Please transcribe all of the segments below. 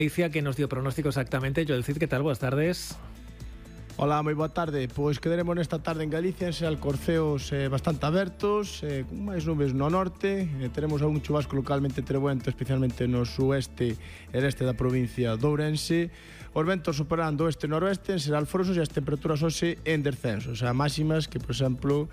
Galicia, que nos dio pronóstico exactamente. Joel Cid, ¿qué tal? Buenas tardes. Ola, moi boa tarde. Pois quedaremos nesta tarde en Galicia en alcorceos bastante abertos, con máis nubes no norte. Teremos algún chubasco localmente trebuento, especialmente no sueste e este da provincia de Ourense. Os ventos superando oeste e noroeste, en ser alforosos, e as temperaturas hoxe en descenso. O sea, máximas que, por exemplo,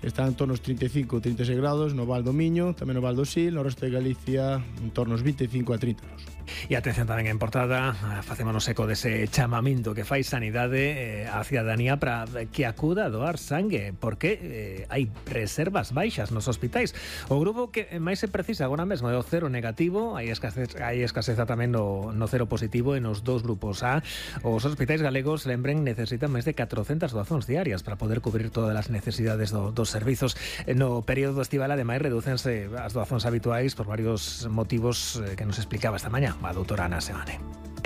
están en torno aos 35 ou 36 grados no Val do Miño, tamén no Val do Sil, no resto de Galicia en torno aos 25 a 30 grados. E atención tamén en portada, facémonos eco dese chamamento que fai Sanidade a cidadanía para que acuda a doar sangue, porque hai reservas baixas nos hospitais. O grupo que máis se precisa agora mesmo é o cero negativo, hai escaseza tamén no cero positivo e nos dous grupos A. Os hospitais galegos, lembren, necesitan máis de 400 doazóns diarias para poder cubrir todas as necesidades dos servizos. No período estival, ademais, redúcense as doazóns habituais por varios motivos que nos explicaba esta mañá a doutora Ana Seoane.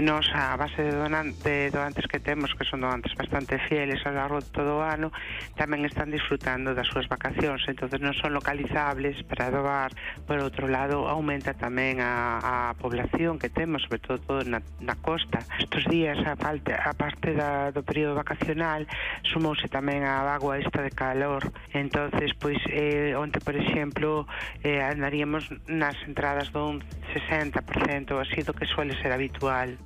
Nos, a base de donantes que temos, que son donantes bastante fieles ao largo de todo o ano, tamén están disfrutando das súas vacacións, entonces non son localizables para doar. Por outro lado, aumenta tamén a población que temos, sobre todo na costa. Estes días, a parte do período vacacional, sumouse tamén a vagoa esta de calor, entonces, pois, onte, por exemplo, andaríamos nas entradas dun 60% así do que suele ser habitual.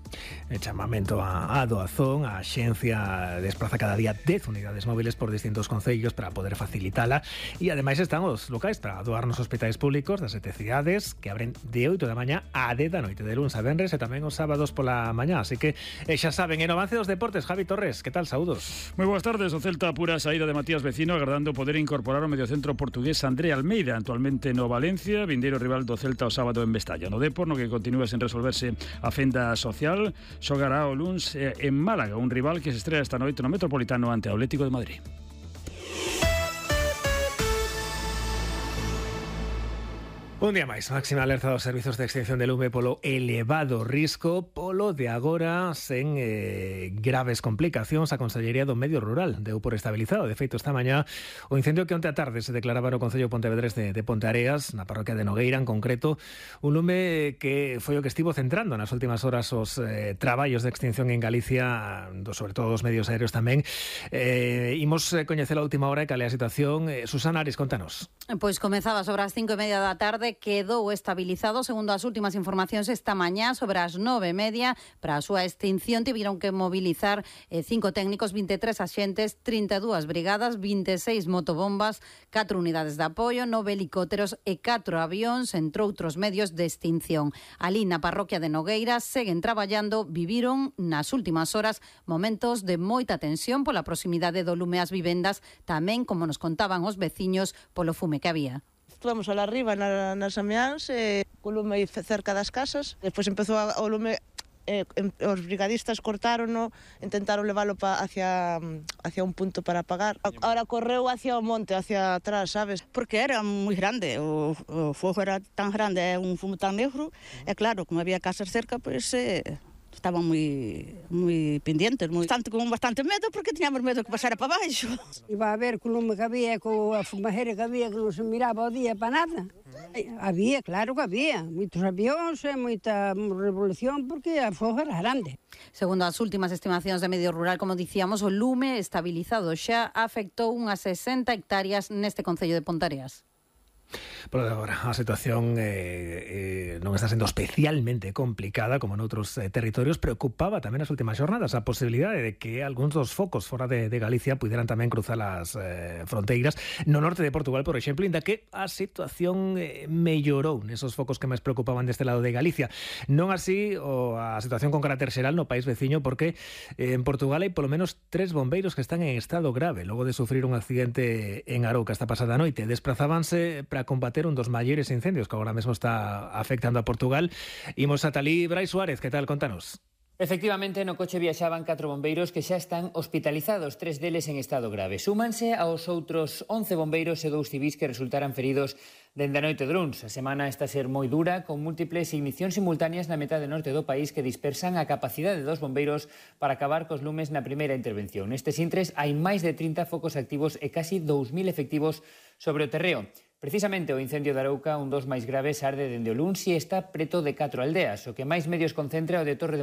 El chamamento a doazón, a xencia despraza cada día 10 unidades móviles por distintos concellos para poder facilitala, e ademais están os locais para doar nos hospitais públicos das 7 cidades, que abren de 8 da mañá a 10 da noite, de luns a venres, e tamén os sábados pola mañá. Así que xa saben, en avance dos deportes, Javi Torres, que tal? Saúdos. Moi boas tardes. O Celta apura a saída de Matías Vecino, agardando poder incorporar o mediocentro portugués André Almeida, actualmente no Valencia, vindeiro rival do Celta o sábado en Mestalla. No Depor, no que continúa sen resolverse a fenda social, xogará o luns en Málaga, un rival que se estrela esta noite no Metropolitano ante o Atlético de Madrid. Un día máis, máxima alerta dos servizos de extinción de lume polo elevado risco, polo de agora sen graves complicacións. A Consellería do Medio Rural deu por estabilizado. De feito, esta mañá, o incendio que onte a tarde se declaraba no Concello Pontevedrés de Ponteareas, na parroquia de Nogueira, en concreto, un lume que foi o que estivo centrando nas últimas horas os traballos de extinción en Galicia, sobre todo dos medios aéreos tamén. Imos coñecer a última hora e cal é a situación. Susana Ares, contanos. Pois comezaba sobre as 5:30 da tarde, quedou estabilizado, segundo as últimas informacións esta mañá, sobre as 9:30, para a súa extinción tiveron que mobilizar 5 técnicos, 23 axentes, 32 brigadas, 26 motobombas, 4 unidades de apoio, 9 helicópteros e 4 avións, entre outros medios de extinción. Alí na parroquia de Nogueira seguen traballando, viviron nas últimas horas momentos de moita tensión pola proximidade do lume ás vivendas, tamén, como nos contaban os veciños, polo fume que había. Estuvamos alá arriba nas ameáns, co lume cerca das casas. Despois empezou o lume, os brigadistas cortárono, intentaron leválo hacia un punto para apagar. Ahora correu hacia o monte, hacia atrás, sabes? Porque era moi grande, o fogo era tan grande, é un fumo tan negro, e claro, como había casas cerca, pois estaban moi pendientes, con bastante medo, porque tiñamos medo que pasara para baixo. Iba a ver co lume que había, coa fumajera que había, que non se miraba o día para nada. Había, claro que había, moitos avións e moita revolución, porque a fogo era grande. Segundo as últimas estimacións de Medio Rural, como dicíamos, o lume estabilizado xa afectou unhas 60 hectáreas neste concello de Ponteareas. Por agora, a situación non está sendo especialmente complicada como noutros territorios. Preocupaba tamén nas últimas xornadas a posibilidade de que algúns dos focos fora de Galicia puderan tamén cruzar as fronteiras. No norte de Portugal, por exemplo, inda que a situación mellorou nesos focos que máis preocupaban deste lado de Galicia. Non así a situación con carácter xeral no país veciño, porque en Portugal hai polo menos 3 bombeiros que están en estado grave logo de sufrir un accidente en Arouca esta pasada noite. Desprazábanse para combater un dos maiores incendios que agora mesmo está afectando a Portugal. Imos ata alí. Brais Suárez, que tal? Contanos. Efectivamente, no coche viaxaban 4 bombeiros que xa están hospitalizados, 3 deles en estado grave. Súmanse aos outros 11 bombeiros e 2 civís que resultaran feridos dende a noite de luns. A semana está a ser moi dura, con múltiples ignicións simultáneas na metade norte do país que dispersan a capacidade dos bombeiros para acabar cos lumes na primeira intervención. Nestes intres hai máis de 30 focos activos e casi 2.000 efectivos sobre o terreo. Precisamente o incendio de Arouca, un dos máis graves, arde dende o luns e está preto de 4 aldeas. O que máis medios concentra o de Torre de